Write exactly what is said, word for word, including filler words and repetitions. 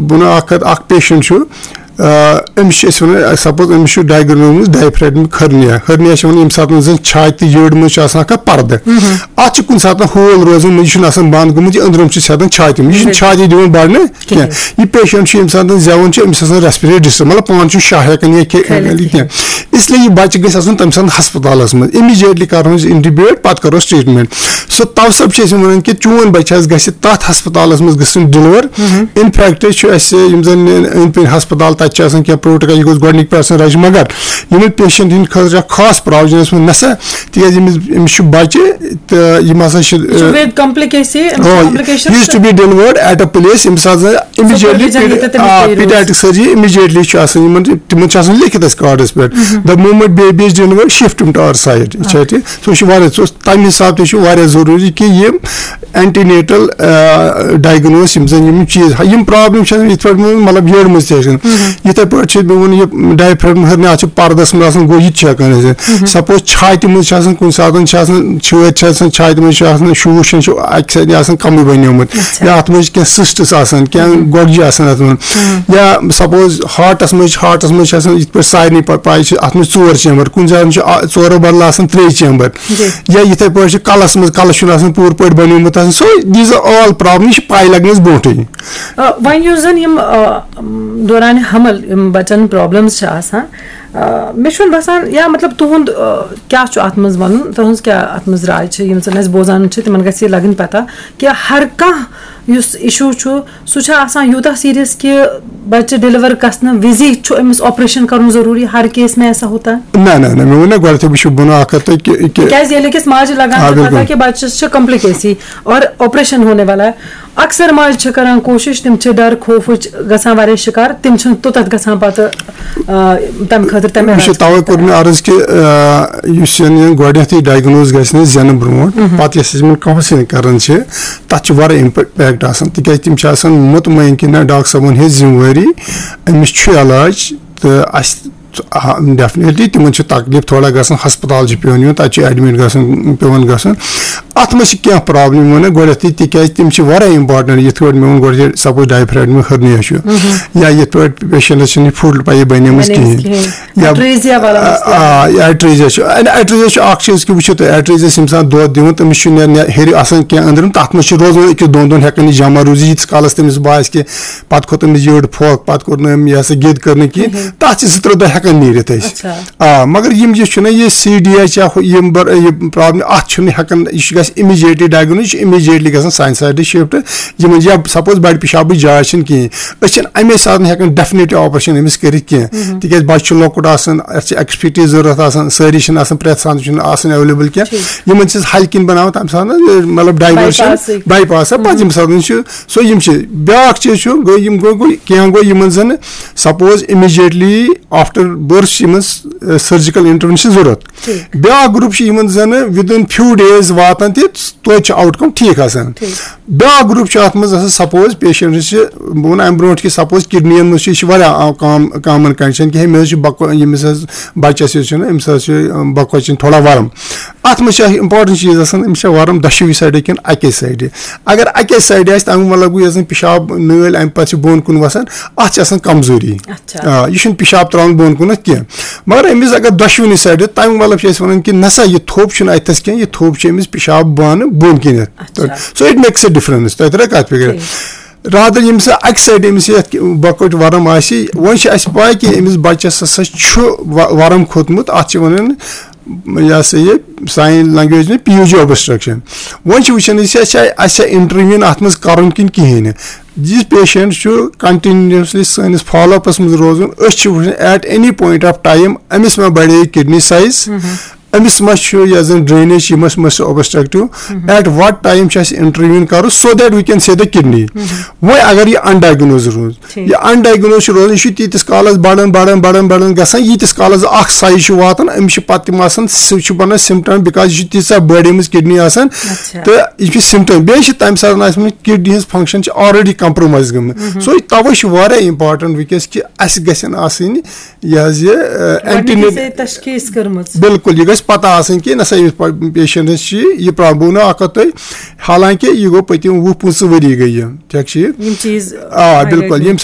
بہٕ وَنہٕ اَکھ کَتھ، اَکھ پیشَنٹ چھُ، آ، أمِس چھِ أسۍ وَنان، سَپوز أمِس چھُ ڈایگنوز ڈایفریگمک ہرنیا۔ ہرنیا چھِ وَنان ییٚمہِ ساتہٕ زَن چھاتہِ تہٕ یٔڈ منٛز چھُ آسان کانٛہہ پَردٕ۔ اَتھ چھُ کُنہِ ساتہٕ ہول روزان، یہِ چھُنہٕ آسان بنٛد گوٚمُت، یہِ أنٛدرِم چھُ ژھٮ۪تان چھاتہِ منٛز، یہِ چھُنہٕ چھاتہِ دِوان بَڑنہٕ کینٛہہ۔ یہِ پیشَنٹ چھُ ییٚمہِ ساتہٕ زٮ۪وان چھُ، أمِس آسان ریسپریٹری ڈِسٹرب، مطلب پانہٕ چھُ شاہ ہٮ۪کان یا کھے-، کھٲلِتھ کینٛہہ۔ اس لیے یہِ بَچہٕ گژھِ آسُن تَمہِ ساتہٕ ہسپتالَس منٛز، امیٖڈیٹلی کَرون أسۍ انٹیوبیٹ، پَتہٕ کَرو ٹریٖٹمنٹ۔ سو تَوٕ سبب چھِ أسۍ وَنان کہِ چون بَچہٕ حظ گژھِ تَتھ ہسپتالَس منٛز گژھُن ڈِلِور۔ اِنفیکٹ چھُ اَسہِ یِم زَن أنٛدۍ پٔکۍ ہسپتال، تَتہِ چھِ آسان کینٛہہ پروٹوکال، یہِ گوٚژھ گۄڈٕنِکۍ پٮ۪ٹھ آسُن رَجہِ، مگر یِمَن پیشَنٹ ہِنٛدِ خٲطرٕ چھِ اَکھ خاص پرووِجن ٲسمٕژ نَسا، تِکیٛازِ أمِس، أمِس چھُ بَچہٕ تہٕ یِم ہسا چھِ، یہِ چھُ with complicacy، أمِس چھِ آ، complication he is to تہٕ be delivered at a place، ییٚمہِ ساتہٕ زَن immediately supervision ییٚتہِ تٔمِس آ، پیٚیہِ روزُن۔ Pediatric surgery immediately چھُ آسان یِمَن، تِمَن چھِ آسان لیکھِتھ اَسہِ کارڈَس پٮ۪ٹھ۔ The moment baby is delivered, shift him to our side۔ یہِ چھا ٹھیٖک؟ سُہ چھُ واریاہ، سُہ اوس تَمہِ حساب تہِ چھُ واریاہ ضروٗری کہِ یِم اینٹی نیٹل، آ، ڈایگنوز، یِم زَن یِم چیٖز، یِم پرابلم چھِ آسان یِتھ پٲٹھۍ مےٚ ووٚن، مطلب، یٔڈ منٛز تہِ آسان۔ یِتھَے پٲٹھۍ چھِ مےٚ ووٚن، یہِ ڈایفریگم ہیٚرِ آسان، چھِ پَردَس منٛز آسان، گوٚو یہِ تہِ چھُ ہٮ۪کان ٲسِتھ۔ سپوز چھاتہِ منٛز چھِ آسان، کُنہِ ساتہٕ چھِ آسان، چھٲتۍ چھِ آسان، چھاتہِ منٛز چھُ آسان، شوٗش چھُ اَکہِ سایڈٕ آسان کَمٕے بَنیومُت، یا اَتھ منٛز چھِ کینٛہہ سِسٹٕس آسان، کینٛہہ گۄگجہِ آسان اَتھ منٛز، یا سپوز ہارٹَس منٛز چھِ، ہارٹَس منٛز چھِ آسان، یِتھ پٲٹھۍ سارنٕے پَ-، پَے چھِ، اَتھ منٛز چھِ ژور چیمبر، کُنہِ ساتہٕ چھِ آ-، ژورو بدلہٕ آسان ترٛے چیمبر، یا یِتھَے پٲٹھۍ چھِ کَلَس منٛز، کَلَس چھُنہٕ آسان پوٗرٕ پٲٹھۍ بَنیومُت آسان۔ So these are all problem، یہِ چھِ پَے لَگنَس برونٛٹھٕے۔ آ، وۄنۍ یُس زَن یِم، آ، دوران حمل یِم بَچَن پرابلمز چھِ آسان، آ، مےٚ چھُنہٕ باسان، یا مطلب تُہُنٛد، آ، کیٛاہ چھُ اَتھ منٛز وَنُن، تُہٕنٛز کیٛاہ اَتھ منٛز راے چھِ، یِم زَن اَسہِ بوزان چھِ، تِمَن گژھِ یہِ لَگٕنۍ پَتہ کہِ ہر کانٛہہ یُس اِشوٗ چھُ، سُہ چھُ آسان یوٗتاہ سیٖریَس کہِ بَچہٕ ڈیلیور گژھنہٕ وِزی چھُ أمِس آپریشن کَرُن ضروٗری، ہر کیس میں ایسا ہوتا ہے؟ نہ، نہ، نہ، مےٚ ووٚن نا گۄڈٕنیتھٕے، بہٕ چھُس بُنہٕ اَکھ ہَتھ تہٕ کہِ، کہِ تِکیٛازِ ییٚلہِ أکِس ماجہِ لَگان آ، چھِ پَتہ بِلکُل۔ کہِ بَچَس چھِ کمپلیکیسی اور آپریشن ہونے والا ہے، اکثر ماجہِ چھِ کران کوٗشِش، تِم چھِ ڈر خوفٕچ گژھان واریاہ شِکار، تِم چھِنہٕ توٚتتھ گژھان پَتہٕ، آ، تَمہِ خٲطرٕ تَمہِ وٕچھِو، علاج تَوَے کوٚر مےٚ عرض کہِ، آ، یُس زَن یہِ گۄڈٕنیتھٕے ڈایگنوز گژھِ نہٕ زٮ۪نہٕ برونٛٹھ، پَتہٕ یۄس أسۍ یِمَن کاونسلنگ کران چھِ، تَتھ چھِ واریاہ اِمپیکٹ آسان، تِکیٛازِ تِم چھِ آسان مطمعین کہِ نہ، ڈاکٹر صٲبُن ہیٚژ ذِمہٕ وٲری، أمِس چھُ علاج تہٕ اَسہِ آ، ڈیفینیٹلی تِمن چھُ تکلیف تھوڑا گژھان، ہسپتال چھُ پیوان یُن، تَتہِ چھُ ایڈمٹ گژھُن، پیوان گژھُن۔ اَتھ منٛز چھِ کینٛہہ پرابلم، وَنہٕ گۄڈٕنیتھٕے، تِکیازِ تِم چھِ واریاہ امپارٹنٹ، یِتھ پٲٹھۍ مےٚ ووٚن گۄڈٕ، سپوز ڈایفریگمک ہرنیا چھُ، یا یِتھ پٲٹھۍ پیشنٹس چھِنہٕ فُڈ پَیی بَنیمٕژ بَنیمٕژ کِہینۍ۔ کِہینۍ۔ یا ایٹریزیا والا مسلہٕ۔ آ، ایٹریزیا چھُ، ایٹریزیا چھُ اکھ چیٖز کہِ وٕچھِو تُہۍ، ایٹریزیا چھِ ییٚمہِ ساتہٕ دۄد دِوان، تٔمِس چھُ نیر-، نیر-، ہیٚرِ آسان کینٛہہ أنٛدرِم، تَتھ منٛز چھُ روزان أکِس دۄن دۄہن ہٮ۪کان یہِ جمع روٗزِتھ، ییٖتِس کالس تٔمِس باسہِ کہِ پَتہٕ کھوٚت أمِس یٔڈ پھۄکھ، پَتہٕ کوٚر نہٕ أمۍ یہِ ہسا گِد کٔر نہٕ کِہینۍ۔ تَتھ چھِ زٕ ترٛےٚ دۄہ ہٮ۪کان نیٖرِتھ أسۍ۔ آ، مگر یِم یہِ چھُنہ یہِ سی ڈی ایچ یا ہُہ-، یِم بر-، یہِ پرابلم، اَتھ چھُنہٕ ہٮ۪کان، یہِ چھُ گژھِ اِمیٖڈیٹلی ڈایگنوز، یہِ چھُ اِمیٖڈیٹلی گژھان سانہِ سایڈٕ شِفٹ۔ یِمن یا سپوز بَڑِ پِشابٕچ جاے چھِنہٕ کِہینۍ، أسۍ چھِنہٕ اَمے ساتہٕ ہٮ۪کان ڈیفینیٹلی آپریشن أمِس کٔرِتھ کینٛہہ، تِکیازِ بَچہِ چھُ لۄکُٹ آسان، اَسہِ چھِ ایکسپیٹیز ضروٗرت آسان، سٲری چھِنہٕ آسان، پرٛٮ۪تھ ساتہٕ چھُنہٕ آسان ایویلیبل کینٛہہ۔ یِمن چھِ أسۍ ہلکہِ کِنۍ بَناوان تَمہِ ساتہٕ، مطلب، ڈایورشن، بائی پاسٕکۍ۔ بائی پاس، پَتہٕ ییٚمہِ ساتہٕ چھُ سو یِم چھِ۔ بیٛاکھ چیٖز چھُ، گوٚو یِم گوٚو، گوٚو کینٛہہ گوٚو یِمَن زَن سپوز اِمیٖڈیٹلی آفٹر بٔرتھ چھِ یِمَن سٔرجِکَل اِنٹروینشن ضوٚرَتھ۔ بیٛاکھ گرُپ چھُ یِمَن زَن within few days واتان تہِ توتہِ چھُ آوُٹ کم ٹھیٖک آسان۔ بیٛاکھ گرُپ چھُ اَتھ منٛز آسان سپوز پیشنٹس چھِ، بہٕ وَنہٕ اَمہِ برونٛٹھ کہِ سپوز کِڈنِیَن منٛز چھُ، یہِ چھُ واریاہ عام، کام، کامن کنڈیشن کہِ ہے، مےٚ حظ چھُ بۄکہٕ، ییٚمِس حظ بَچَس یُس چھُنہٕ، أمِس حظ چھُ، بۄکہٕ وَچہِ چھِنہٕ تھوڑا وَرم۔ اَتھ منٛز چھِ اَکھ اِمپاٹَنٹ چیٖز آسان، أمِس چھےٚ وَرَم دۄشوٕے سایڈٕ کِنہٕ اَکے سایڈٕ۔ اگر اَکے سایڈٕ آسہِ، تَمیُک مطلب گوٚو یۄس زَن پِشاب نٲلۍ اَمہِ پَتہٕ چھِ بۄن کُن وَسان، اَتھ چھِ آسان کمزوٗری۔ آ، یہِ چھُنہٕ پِشاب ترٛاوان بۄن کُنَتھ کینٛہہ۔ مگر أمِس اگر دۄشوٕنی سایڈٕ، تَمیُک مطلب چھِ أسۍ وَنان کہِ نہ سا یہِ تھوٚپ چھُنہٕ اَتہِ تھَس کینٛہہ، یہِ تھوٚپ چھِ أمِس پِشاب بانہٕ بۄن کِنٮ۪تھ۔ So it makes a difference۔ تۄہہِ تَرِ کَتھ فِکرِ؟ رادر ییٚمہِ ساتہٕ اَکہِ سایڈٕ أمِس یَتھ بۄکٕچ وَرَم آسہِ، وۄنۍ چھِ اَسہِ پَے کہِ أمِس بَچَس ہَسا چھُ وَ-، وَرَم کھوٚتمُت، اَتھ چھِ وَنان یہِ ہسا یہِ سانہِ لنگویج منٛز پی یوٗ جی اوبسٹرکشن۔ وۄنۍ چھِ وٕچھان أسۍ، اَسہِ چھا، اَسہِ چھا انٹرویو اَتھ منٛز کَرُن کِنہٕ کِہیٖنۍ نہٕ۔ یہِ پیشنٹ چھُ کنٹینیوسلی سٲنِس فالو اپس منٛز روزُن، أسۍ چھِ وٕچھان at any point of time أمِس ما بڑے کڈنی سائز، أمِس ما چھُ یۄس زن ڈرینیج چھِ، یہِ ما چھُ، ما چھُ اوبسٹرکٹیو، at what time چھُ اَسہِ انٹرویو کَرُن so that we can save the kidney۔ وۄنۍ اگر یہِ انڈائگنوز روٗز، یہِ انڈائگنوز چھُ روزان، یہِ چھُ تیٖتِس کالس بڑان، بڑان، بڑان، بڑان گژھان، ییٖتِس کالس اکھ سایز چھُ واتان، أمِس چھِ پتہٕ تِم آسان، سُہ چھُ بنان سِمٹم، because یہِ چھُ تیٖژاہ بٔڑ أمِس کِڈنی آسان، تہٕ یہِ چھُ سِمٹم۔ بیٚیہِ چھِ تَمہِ ساتہٕ آسہِ مےٚ کِڈنی ہٕنٛز فنکشن چھِ already compromise گٔمٕژ۔ So یہِ توے چھُ واریاہ important وٕنکیٚس کہِ اَسہِ گژھن آسٕنۍ یہِ حظ یہِ، آ، اینٹی گۄڈٕنیتھٕے نیٹ-، تشخیٖص کٔرمٕژ۔ بِلکُل، یہِ گژھِ پتہ آسٕنۍ کہِ نہ سا یُس پیشنٹس چھِ یہِ پرابلم، بہٕ وَنو اکھ کتھ تۄہہِ، حالانکہِ یہِ گوٚو پٔتِم وُہ پٕنٛژٕہ ؤری گٔے یہِ، ٹھیٖک چھِ یہِ؟ یِم چیٖز آ، highlight بِلکُل، یِم یِم